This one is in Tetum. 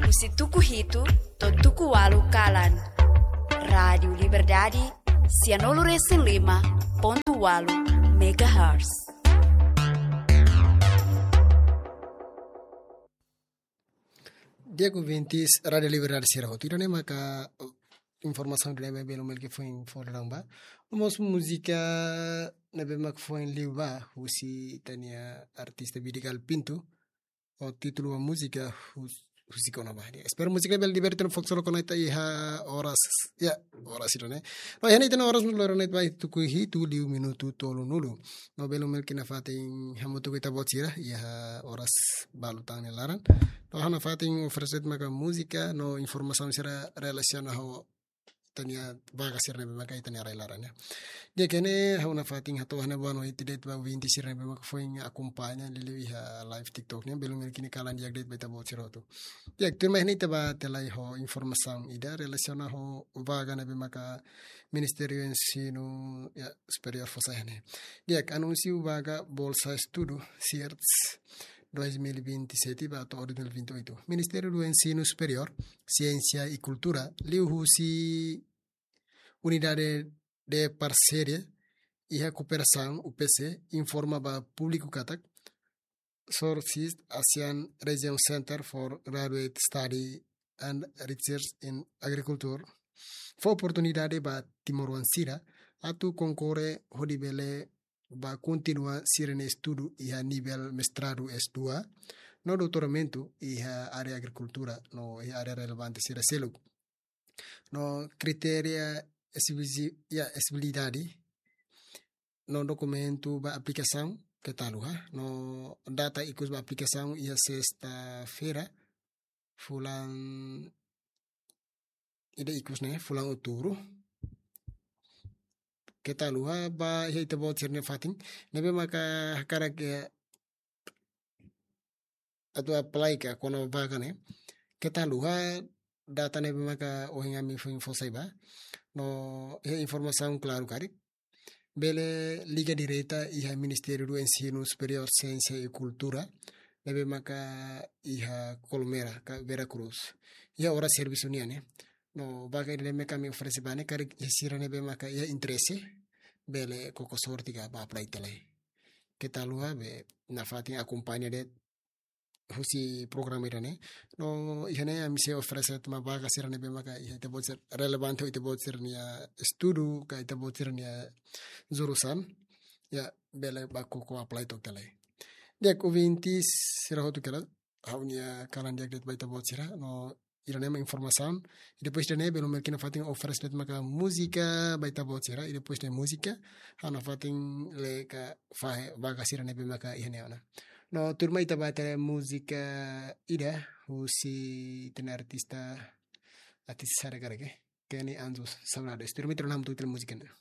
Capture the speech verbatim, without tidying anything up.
Husi tuku hitu to'o tuku ualu kalan. Rádiu Liberdade, sianulu resin lima pontu ualu megahertz. Di'ak ouvintes Rádiu Liberdade sira hotu, ida-ne'e maka informasaun ida ne'ebé belun Melki foin fó daudaun ba. No mós múzika ne'ebé mak foin liu ba husi ita-nia artista Vidigal Pinto. Ho títulu ba múzika hus-, husik ona ba. Espera múzika bele diverte no fokus lo konekta iha oras, ya, oras ida-ne'e. No, iha ne'e ita-nia oras mós loron ne'e ba tuku hitu liu minutu tolunulu. No belun Melki nafatin hamutuk ho ita-boot sira iha oras balu tan nia laran. No ha'u nafatin oferese de'it maka múzika no informasaun sira relasiona ho ita-nia vaga sira ne'ebé maka iha ita-nia rai laran, ya. Di'ak, iha ne'e ha'u nafatin hato'o ha'u-nia boa noite de'it ba ouvinte sira ne'ebé maka foin akompaña liuliu iha live TikTok ne'e, belun Melki nia kalan di'ak de'it ba ita-boot sira hotu. Di'ak, tuirmai iha ne'e ita bá tiha lai ho informasaun ida relasiona ho vaga ne'ebé maka Ministériu Ensinu, ya, Superiór fó sai iha ne'e. Di'ak, anúnsiu vaga Bolsa Estudu, SEARTS, dois mil e vinte e sete ba to'o dois mil e vinte e oito. Ministériu do Ensinu Superiór, Siénsia i Kultura, liuhusi Unidade de Parseria iha Kooperasaun, U P C, informa ba públiku katak, SORCIS, ASEAN Region Center for Graduate Study and Research in Agriculture, fó oportunidade ba timoroan sira atu konkorre hodi bele bá kontinua sira-nia estudu iha nivel mestradu S dua, no doutoramentu iha área agrikultura, no iha área relevante sira seluk. No kritéria exibi-, ya, exijibilidade, no dokumentu ba aplikasaun keta haluha, no data ikus ba aplikasaun iha sesta-feira, fulan ida ikus ne'e, fulan Outubru. Keta haluha ba iha ita-boot sira-nia fatin ne'ebé maka hakarak, eh, atu apply ka kona-ba vaga ne'e. Keta haluha data ne'ebé maka ohin ami foin fó sai ba. No iha informasaun klaru karik, bele liga direta iha Ministériu do Ensinu Superiór, Siénsia i Kultura, ne'ebé maka iha Colmera, ka Vera Cruz. Iha oras servisu nian ne'e. No vaga ida-ne'e maka ami oferese ba ne'e, karik iha sira ne'ebé maka iha interese, bele koko sorte ka bá apply tiha lai. Keta haluha, be nafatin akompaña de'it husi programa ida-ne'e. No iha ne'e ami sei oferese de'it mós vaga sira ne'ebé maka iha ita-boot sira, relevante ho ita-boot sira-nia estudu ka ita-boot sira-nia jurusan. Ya, bele bá koko apply to'ok tiha lai. Di'ak, ouvintes sira hotu karik, ha'u-nia kalan di'ak de'it ba ita-boot sira. No ida-ne'e mak informasaun. I depois ida-ne'e belun Melki nafatin oferese de'it maka múzika ba ita-boot sira. I depois de múzika, ha'u nafatin lee ka fahe vaga sira ne'ebé maka iha ne'e ona. No tuirmai ita bá tiha múzika ida husi ita-nia artista, artista sira karik, Kenny Anjos, Saudades. Tuirmai ita hamutuk tiha múzika ne'e.